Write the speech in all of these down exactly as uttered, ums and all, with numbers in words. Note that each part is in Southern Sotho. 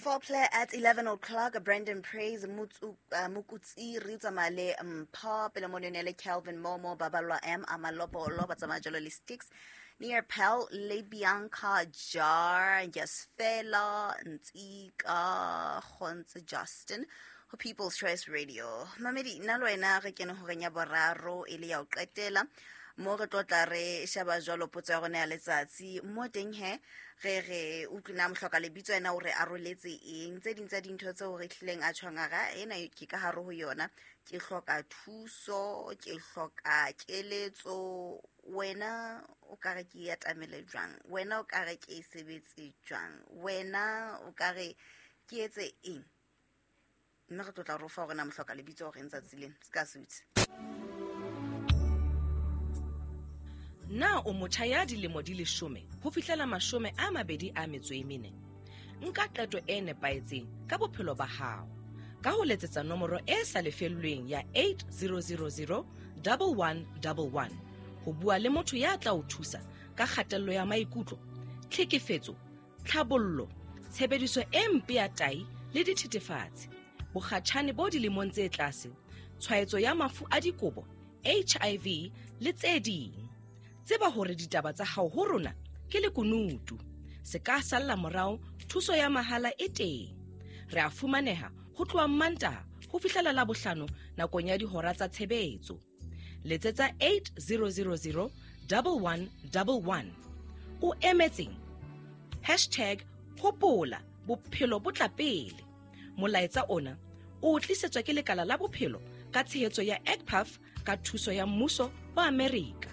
Foreplay at eleven o'clock. Brandon Praise Mutsu uh, Mukutsiri tsamaya le Mpho pele mo le Calvin Momo Babalwa M Amalobolo ba tsamaya jalo le Sticks Near Pell le Bianca Jar Yes Fela Ntsika Gontse Justin ho People's Choice Radio. Mamedi nna le wena re kene horeng ya boraro e le ya ho qetela mo re tlo tla re sheba jwalo potso ya rona ya letsatsi mo teng he re re utlwina mohloka lebitso ena o re aroletse eng tse ding tsa dintho tseo re hlileng a tshwangara ena ke ka hare ho yona ke hloka thuso ke hloka keletso wena o ka re ke atamele jwang wena o ka re ke e sebetse jwang wena o ka re ke etse eng mme re tlo tla re fa hore na mohloka lebitso hore ntsa tseleng se ka se utse. Na o motjha ya dilemo di leshome ho fihlela mashome a mabedi a metso e mene? Nka qeto e nepahetseng ka bophelo ba hao ka ho letsetsa nomoro e sa lefellweng ya eight zero zero zero one one one one ho bua le motho ya tla o thusa ka kgatello ya maikutlo, tlhekefetso, tlhabollo, tshebediso e mpe ya tai le dithethefatsi, bokgatjhane bo dilemong tse tlase, tshwaetso ya mafu a dikobo, H I V le tse ding. Tseba hore ditaba tsa hao ho rona ke lekunutu. Se ka salla morao, thuso ya mahala e teng. Re a fumaneha ho tloha Mantaha ho fihlela Labohlano nakong ya dihora tsa tshebetso. Letsetsa eight zero zero zero one one one one. O emetseng? Hashtag hopola bophelo bo tla pele. Molaetsa ona o tlisetswa ke lekala la bophelo ka tshehetso ya E C P A F ka thuso ya mmuso wa Amerika.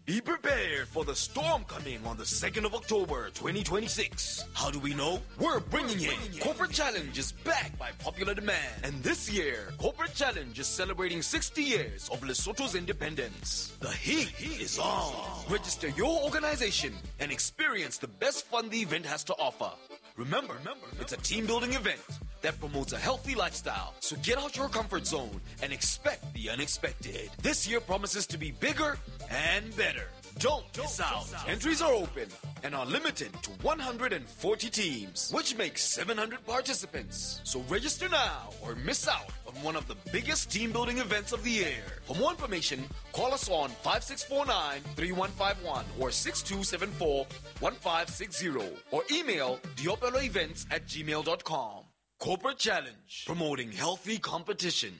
Be prepared for the storm coming on the second of October, twenty twenty-six. How do we know? We're bringing it. Corporate Challenge is back by popular demand. And this year, Corporate Challenge is celebrating sixty years of Lesotho's independence. The heat is on. Register your organization and experience the best fun the event has to offer. Remember, it's a team-building event that promotes a healthy lifestyle. So get out your comfort zone and expect the unexpected. This year promises to be bigger and better. Don't miss out. Entries are open and are limited to one hundred forty teams, which makes seven hundred participants. So register now or miss out on one of the biggest team-building events of the year. For more information, call us on five six four nine, three one five one or six two seven four, one five six zero or email diopeloevents at gmail dot com. Corporate Challenge, promoting healthy competition.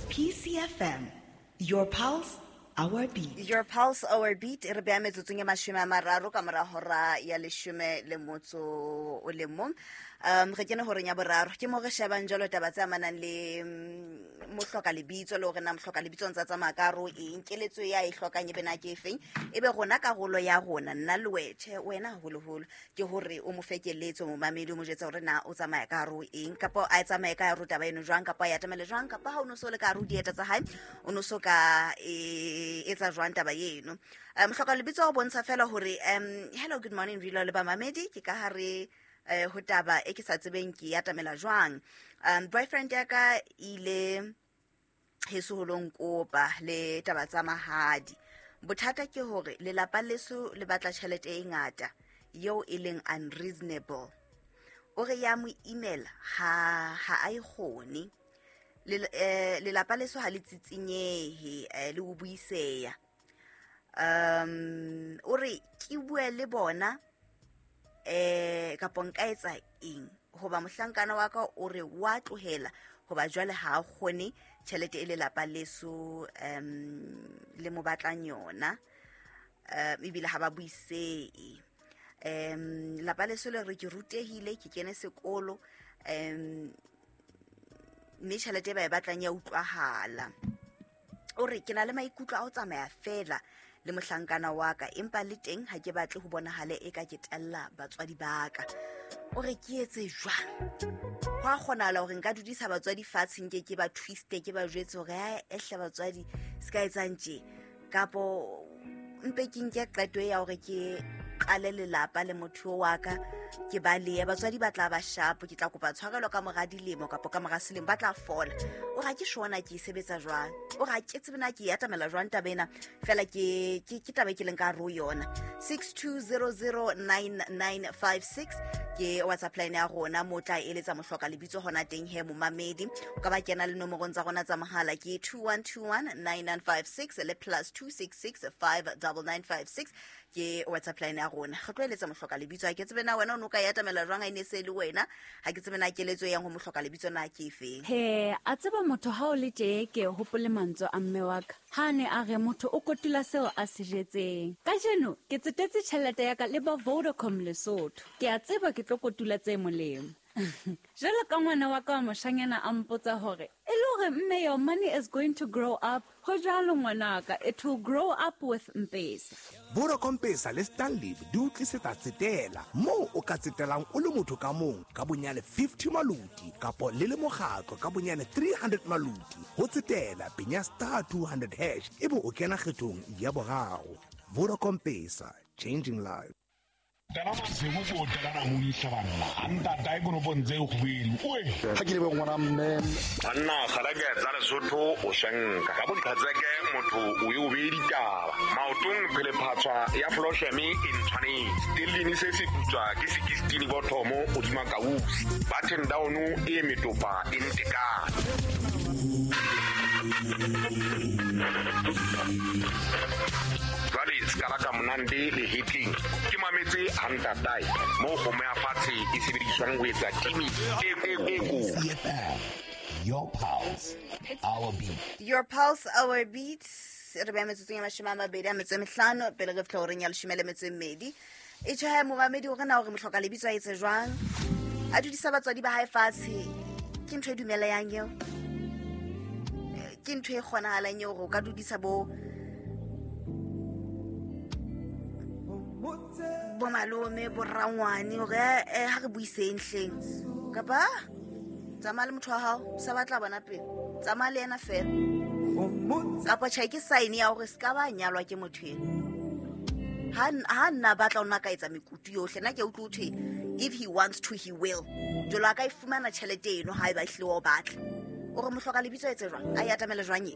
P C F M, your pulse, our beat. Your pulse, our beat. Re beha metsotsong e mashome a mararo ka mora hora ya leshome le motso o le mong. Um, re kene horeng ya boraro. Ke mo re shebang jwalo taba tse amanang le mohloka lebitso le hore na mohloka lebitso ntse a tsamaya ka hare ho eng, keletso ya e hlokang e be na ke efeng. Ebe rona karolo ya rona, nna le wethe, wena haholoholo, ke hore o mo fe keletso, momamedi o mo jwetse hore na o tsamaya ka hare ho eng, kapa a tsamaye ka hare ho taba eno jwang, kapa a e atamele jwang, kapa ha o no so le ka hare ho dieta tsa hae, o no so ka e etsa jwang taba eno. Um, mohloka lebitso o bontsha fela hore, um, hello, good morning, Rilo le bamamedi, ke ka hare eh ho taba e ke sa tsebeng ke atamela jwang. Um, boyfriend ya ka ile heso ho lo nkopa le taba tsa mahadi. Bothata ke hore lelapa leso le batla tjhelete e ngata eo e leng unreasonable. O re ya mo email ha ha a e kgone. Lelapa leso ha le tsitsinyehe le ho buiseya. Um, o re ke bue le bona eh kapa nka etsa eng hoba mohlankana wa ka o re wa tlohela hoba jwale ha a kgone tjhelete e lelapa leso um le mo batlang yona um ebile ha ba buisee. Um lapa leso le re ke rutehile ke kene sekolo um mme tjhelete e ba e batlang ya utlwahala. O re ke na le maikutlo a ho tsamaya fela le mohlankana wa ka, empa le teng ha ke batle ho bonahale e ka ke tella batswadi ba ka. O re ke etse jwang? Ho a kgonahala hore nka dudisa batswadi fatshe nke ke ba twiste, ke ba jwetse hore ha ehle batswadi se ka etsang tje, kapo mpe ke nke qeto ya hore ke qale lelapa le motho wa ka, ke balehe. Batswadi ba tla ba sharp, ke tla kopa tshwarelo ka mora dilemo kapa ka mora selemo, ba tla fola. O re ha ke shona ke e sebetsa jwang, o re ha ke tsebe na ke e atamela jwang taba ena, fela ke ke ke taba e ke leng ka hare ho yona. six two zero zero nine nine five six ke WhatsApp line ya rona, mo tla eletsa mohloka lebitso hona teng he momamedi. O ka ba kena le nomorong tsa rona tsa mohala ke two one two one nine nine five six le plus two six six five nine nine five six ke WhatsApp line ya rona. Re tlo eletsa mohloka lebitso. Ha ke tsebe na wena o no ka e atamela jwang, ha e ne se le wena. Ha ke tsebe na keletso e yang ho mohloka lebitso na ke efeng. He, a tseba motho ha o le tje ke hopole mantswe a mme wa ka. Ha ne a re motho o kotula seo a se jetseng. Kajeno ke tsetetse tjhelete ya ka le ba Vodacom Lesotho. Ke a tseba ke tlo kotula tse molemo. Jwalo ka ngwana wa ka wa moshanyana a mpotsa hore e le hore mme your money is going to grow up. Ho jwalo ngwanaka, it will grow up with M-Pesa. Vodacom Pesa le Stanley di o tlisetsa tsetela moo o ka tsetelang o le motho ka mong ka bonyane fifty maluti kapo le le mokgatlo ka bonyane three hundred maluti. Ho tsetela penya star two hundred hash ebe o kena kgethong ya boraro. Vodacom Pesa, changing lives. Tala masego ko tala na moisa banna anta dai kono bontse go buile oe ha ke le bo ngwana mme banna gala ke tsa Lesotho o shanka ka botlhatseke motho o yo be ditaba maotong pele phatswa ya flosheme e ntshwanetse stellini se se putswa ke sixteen bothomo o dima kausi button down e metopa e ntekana. Jwale skala ka monande le hitting ke mametse hantatai mo go me afatshe e sebediswang ho etsa timi e e e go. Your pulse, our beat. Your pulse, our beat. Re ba metsotsong ya mashome a mabedi a metso e mehlano pele re fihla horeng ya leshome le metso e mmedi. E tjho ha momamedi hore na hore mohloka lebitso a etse jwang, a dudisa batswadi ba hae fatshe, ke ntho e dumelayang eo, ke ntho e kgonahalang eo hore o ka dudisa bo bo malome bo rangwane hore eh ha re buiseng hleng, kapa tsamaya le motho wa hao sa batla bona pele, tsamaya le yena fela, kapa tjhe ke sign ya hore se ka ba nyalwa ke motho ena. Ha ha nna batla ona ka etsa mekutu yohle, nna ke utlwe ho thwe if he wants to he will. Jwalo a ka e fumana tjhelete eno ha eba ehlile o batla. O re mohloka lebitso etse jwang, a e atamele jwang e?